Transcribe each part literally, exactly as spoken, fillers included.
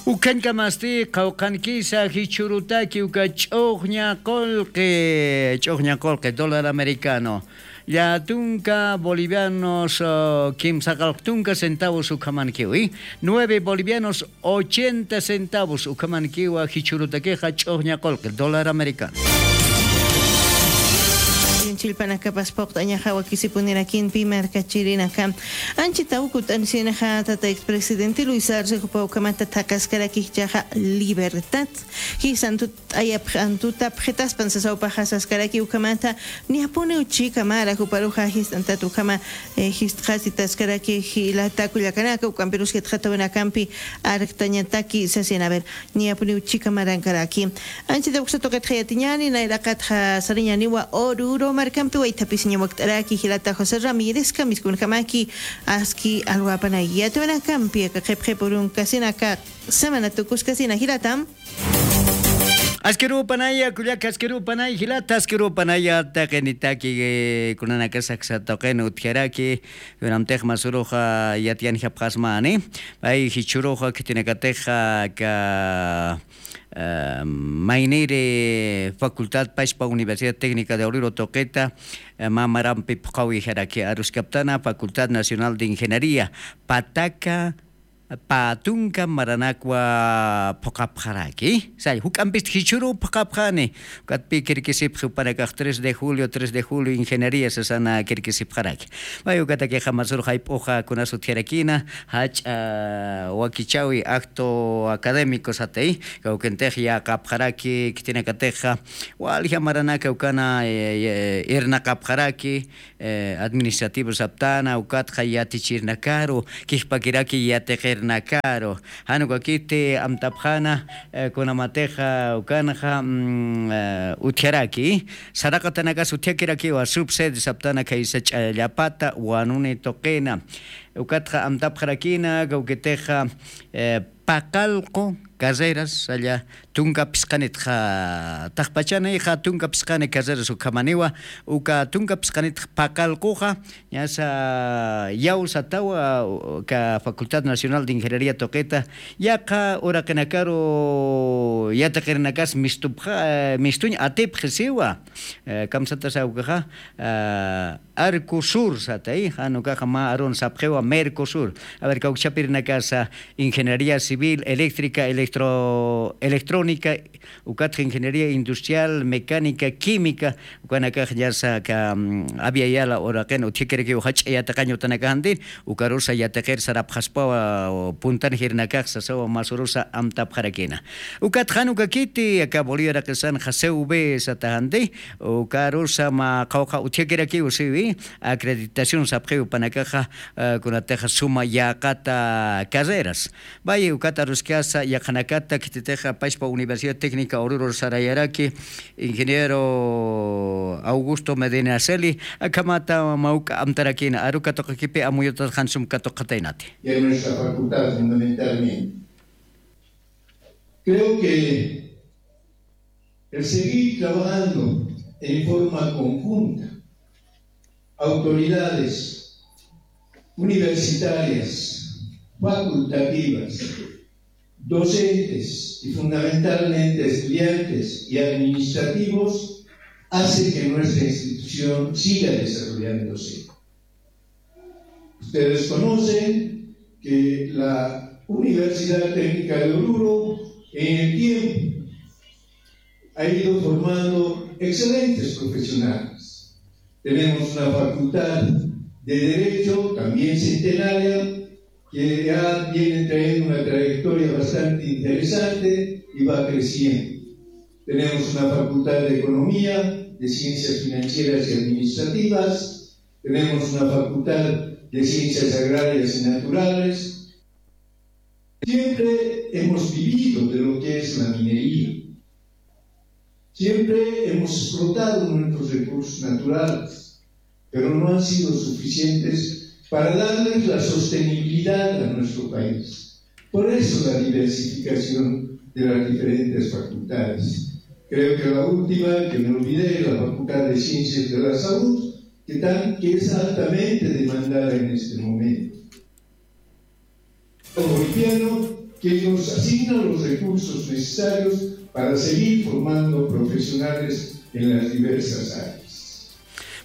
Ukhañkamasti qhawqhankisa jichhürutaki uka ch'uxña qullqi, ch'uxña qullqi dólar americano, llatunka bolivianos kimsa qallq tunka centavos ukhamankiwi. Nueve bolivianos ochenta centavos ukhamankiwa jichhürutakixa ch'uxña qullqi dólar americano. Chillpanakapas phuqt'añaxa wakisipunirakinpi markachirinaka. Anchita ukut'ansinxa tata expresidente Luis Arce jupa ukhamata thaqaskaraki jichhaxa libertad jisantut t'ayapxantutapxitaspan sasawpaxa saskaraki ukhamata. Niyapuniw chika mara juparuxa jist'antat ukhama jist'qasitaskaraki jilata kullakanaka ukampirus jitxatawinakampi arktañataki sasin a ver. Niyapuniw chika marankaraki. Anchita uksa tuqitxa yatiñani nayraqatxa sariñaniwa ururu markampi waythapisiña wakt'araki jilata josé ramírez kamiskunkamaki aski alwapanay yatawinakampi aka qhipqhip urunkasinaka semana tukuskasina jilatam. Askirupanaya kullaka askirupanay jilata askirupanaya taqinitaki kunanakasaksa tuqin utjaraki. Kunamtix masuruxa yatiyanjapxasmani pay jichhuruxa khitinakatixa ka mayniri facultad pachpa universidad técnica de obrero tuqita mamarampi phuqawijaraki aruskaptana facultad nacional de ingeniería pataka patunka maranakwa phuqapxaraki. Say juk'ampist jichhuru phuqapxani. Ukatpi kirkisipxi upanakax tres de julio tres de julio ingeniería sasana kirkisipxaraki. May ukatakixa masur jayp'uxa kunas utjarakina jach'a wakichawi acto académico satay kawkintix yaqapxaraki khitinakatixa walja maranaka ukana irnaqapxaraki administrativo saptana ukatxa yatichirnakaru kijpakiraki yatiqirnakaru. Jan ukakiti amtapxana kunamatixa ukanxa utjaraki saraqatanakas utjakirakiwa subsede saptana khaysa ch'allapata wanuni tuqina. Ukatxa amtapxarakina kawkitixa paqallqu carreras salla tunka phisqanitxa taqpachanixa tunka phisqani carreras ukhamaniwa uka tunka phisqanitxa paqallquxa ñasa yaw satawa ka facultad nacional de ingeniería tuqita yaqa uraqinakaru yatiqirinakas mistupxa mistuñ atipxisiwa. Kamsatasa ukaxa arco sur satay jan ukaxa mä arun sapxiwa mercosur. A ver kawkchapirinakasa ingeniería civil eléctrica electrónica ukatxa ingeniería industrial mecánica química ukanakax ñasa ka aviayala uraqin utjikirakiw jach'a yatiqañ utanakaxanti ukarusa yatiqir sarapxaspawa puntan jirinakax sasawa masurusa amtapxarakina. Ukatxa jan ukakiti aka bolivia raqisanxa cv sataxanti ukarusa mä qhawqha utjakirakiw siwi acreditación sapxiw panakaxa kunatixa suma yäqata carreras. Valle ukat aruskasa yaqhanakata khititixa pachpa universidad técnica ururur sarayaraki ingeniero augusto medinaceli akhamata mawk'a amtarakina aru katuqakipi amuyutat jan sum katuqataynati. Y en nuestra facultad fundamentalmente creo que el seguir trabajando en forma conjunta autoridades universitarias facultativas docentes y fundamentalmente estudiantes y administrativos hace que nuestra institución siga desarrollándose. Ustedes conocen que la universidad técnica de oruro en el tiempo ha ido formando excelentes profesionales. Tenemos una facultad de derecho también centenaria que ya viene trayendo una trayectoria bastante interesante y va creciendo. Tenemos una facultad de economía, de ciencias financieras y administrativas, tenemos una facultad de ciencias agrarias y naturales. Siempre hemos vivido de lo que es la minería. Siempre hemos explotado nuestros recursos naturales, pero no han sido suficientes para darles la sostenibilidad a nuestro país. Por eso la diversificación de las diferentes facultades. Creo que la última que me olvidé es la Facultad de Ciencias de la Salud, que, tan, que es altamente demandada en este momento. Como boliviano, que nos asigna los recursos necesarios para seguir formando profesionales en las diversas áreas.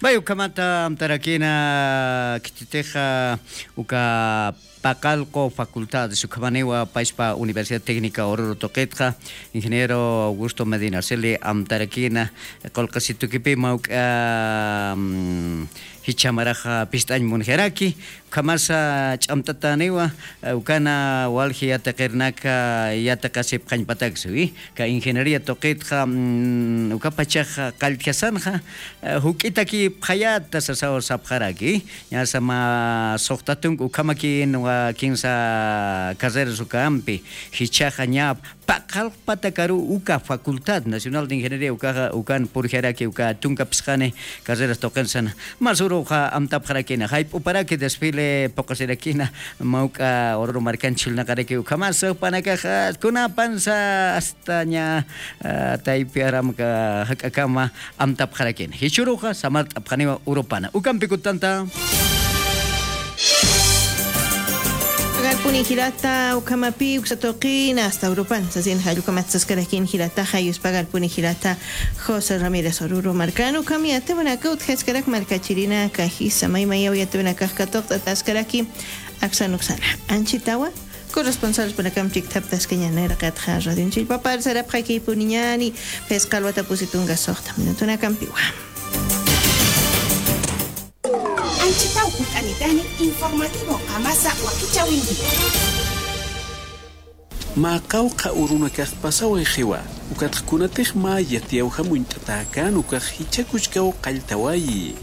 Vaya, ukhamata amtarakina, khititixa, uka Paqallqu Facultades, ukhamaniwa pachpa Universidad Técnica Oruro tuqitxa, ingeniero Augusto Medina Celi amtarakina, qullqisitukipï mawk'a, mm, jichha maraxa pist'añ munxiraki, ukhamasa ch'amt'atäniwa, eh, ukana walji yatiqirnaka yatiqasipxañpataksa, ¿sí? Ka ingeniería tuqitxa, mm, ukapachax qalltjasanxa, eh, juk'itakipxayäta sasaw sapxaraki, ñasa mä suxta tunka ukhamakïnwa kinsa carreras ukampi, jichhaxa ña paqallq patakaru uka Facultad Nacional de Ingeniería ukaxa, ukan purjaraki uka tunka phisqani carreras tuqinsan. Mas uruxa amtapxarakina, jayp'uparaki desfile puqasirakina, mawk'a Oruro markan chhillnaqaraki ukhamas jupanakaxa kunapansa hasta ña, ah, taypi aramka jak'akama amtapxarakina. Jichhüruxa samart'apxaniwa urupana. Ukampi kutanta. Pagarpuni jilata, ukhamapï uksa tuqina hasta Europan sasin jall, ukhamat saskarakin jilataxa, yuspagarpuni jilata José Ramírez Oruro markan, ukham yatipxanaka utjaskarak markachirinaka, jisa maymayaw yatipxanakax katuqt'ataskaraki aksan uksana. Anchitawa, corresponsalspanakamp chikthaptaskañäni, irqatxa radionchillpapar sarapxakipuniñäni, phisqa alwatapusi tunka suxta minutunakampiwa. Anchitaw uñt'anitani informativo qamasa wakichäwinki. Mä qawqha urunakax pasawayxiwa, ukatxa kunatix mä yatiyawjam uñt'atäkän ukax jichha kuchkaw qalltawayi.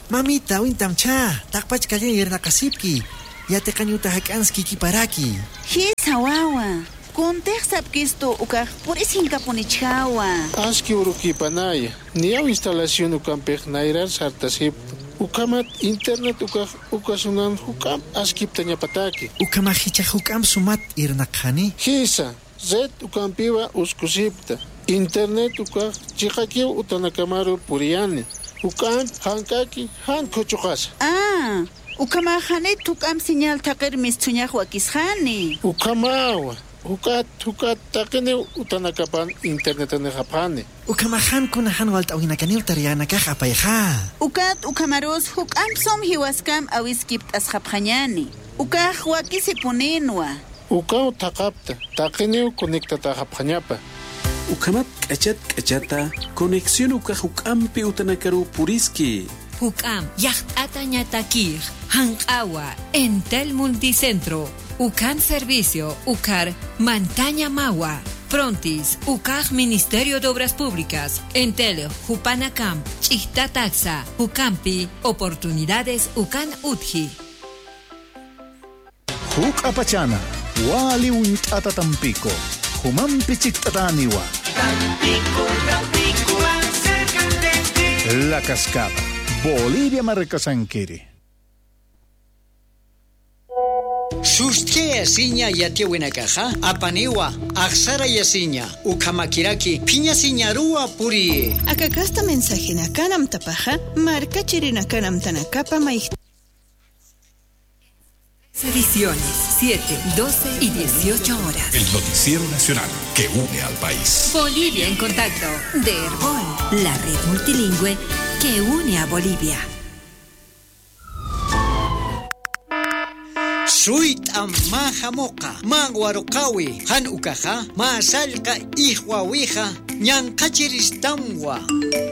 Mamita, uñtamchä, taqpach calleñ irnaqasipki, yatiqañ uta jak'anskïkiparaki. Jisa wawa, kuntix sapkistu ukax purisinkapunichäwa. Aski urukïpanaya, niyaw instalación ukampix nayrar sartasipkta, ukhamat internet ukax uka sunan juk'amp askiptañapataki. Ukhamax jichhax juk'amp sumat irnaqxani. Jisa, red ukampiwa uskusipkta. Internet ukax chiqakiw utanakamaru puriyani. Juk'amp jank'aki jan khuchuqasa. Ah, ukhamax janit juk'amp señal thaqir misthuñax wakisxani. Ukhamawa, juk'at, juk'at taqiniw utanakapan internetanixapxani. Ukhamax jan kuna jan walt'äwinakaniw taryanakax apayxä. Ukat ukhamarus juk'amp sum jiwaskam awiskipt'asxapxañäni. Ukax wakisipuninwa. Ukaw thaqapta, taqiniw conectatäxapxañapa. Ukhamat k'achat k'achata conexión ukax juk'ampi utanakaruw puriski. Juk'amp yaqt'atañatakix, janq'awa, Entel Multicentro, ukan servicio, ukar mantañamawa, Frontis, ukax Ministerio de Obras Públicas, Entel, jupanakamp, ch'ijtataksa, jukampi, oportunidades, ukan utji. Juk'apachana, wali uñt'ata Tampico, jumampi chikt'atäniwa. Tampico, Tampico, más cerca de ti. La Cascada, Bolivia markasankiri. Sustiyasiña yatiyawinakaxa, apaniwa, axsarayasiña, ukhamakiraki, phiñasiñaruwa puriyi. Aka kasta mensajenakan amtapaxa, markachirinakan amtanakapa mayjta. Ediciones, siete, doce y dieciocho horas. El noticiero nacional que une al país. Bolivia en contacto, de Erbol, la red multilingüe que une a Bolivia. Suyt'am mä jamuqa, mä waruqäwi, jan ukaxa, mä sallqa ijwawixa, ñanqhachiristamwa,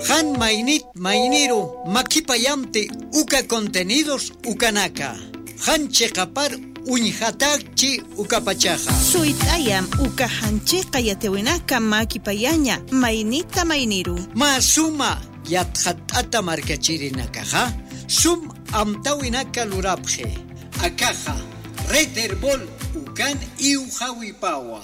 jan maynit mayniru makipayamti uka contenidos ukanaka. Jan chiqapar uñjatäkchi ukapachaxa. Suyt'ayam uka jan chiqa yatiyawinaka makipayaña maynita mayniru. Mä suma yatxatt'ata markachirinakaxa sum amtawinaka lurapxi. Akaxa, Red Erbol ukan iwjawipawa.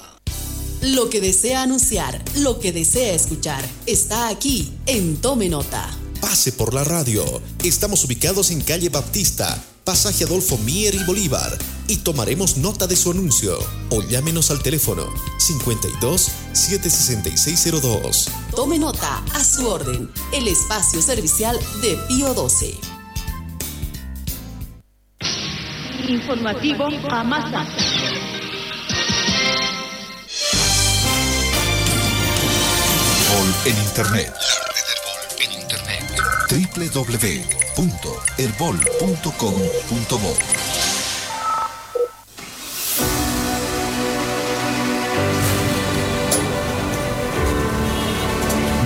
Lo que desea anunciar, lo que desea escuchar, está aquí en Tome Nota. Pase por la radio. Estamos ubicados en calle Baptista, pasaje Adolfo Mier y Bolívar, y tomaremos nota de su anuncio. O llámenos al teléfono cincuenta y dos, siete sesenta y seis cero dos. Tome Nota, a su orden. El espacio servicial de Pío doce. Informativo Amasa. En Internet. La red Erbol en Internet. W W W punto erbol punto com punto bo.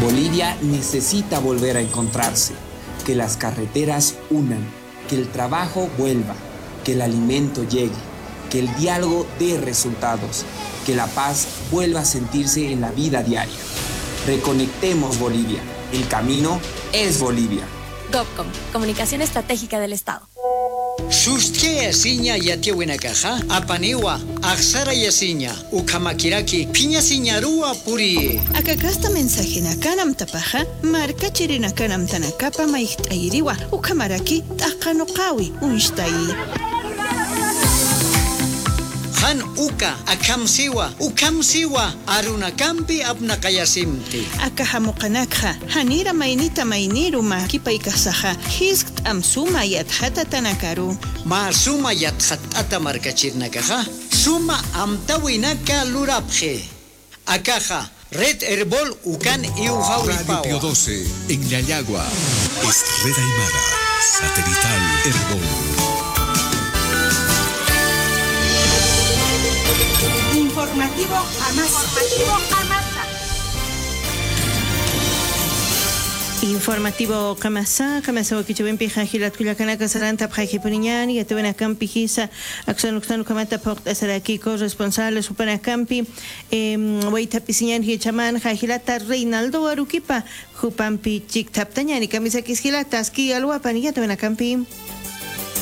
Bolivia necesita volver a encontrarse, que las carreteras unan, que el trabajo vuelva, que el alimento llegue, que el diálogo dé resultados, que la paz vuelva a sentirse en la vida diaria. Reconectemos Bolivia. El camino es Bolivia. Gobcom, Comunicación Estratégica del Estado. Sust'ayasiña yatiyäwinakaxa, apaniwa, axsarayasiña, ukhamakiraki phiñasiñaruwa puriyi. Aka kasta mensajenakan amtapaxa, markachirinakana amtanakapa mayjt'ayiriwa, ukhamaraki t'aqanuqawi uñstayi. Jan uka, akham siwa, ukham siwa, arunakampi apnaqayasimti. Aka jamuqanakxa, janira maynita mayniru mä kipaykaxsaxa, jiskt'am suma yatxatatanakaru. Mä suma yatxatt'ata markachirinakaxa, suma amtawinaka lurapxi. Akaxa, Red Erbol ukan Radio iwjawipawa. Pío doce, en Llallagua. Es Red Aymara, satelital Erbol. Informativo Amasa. Informativo Amasa. Informativo Qamasa, Qamasa wakichäwimpixa jilat kullakanaka sarantapxaykipuniñäni, yatiyäwinakampi jisa, aksan uksan ukhamata phuqt'asarakiku responsables jupanakampi, em, waythapisiñäni jichhamanxa jilata Reinaldo Aruquipa, jupampi chikthaptañäni, kamisakis jilata, aski alwapan yatiyäwinakampi.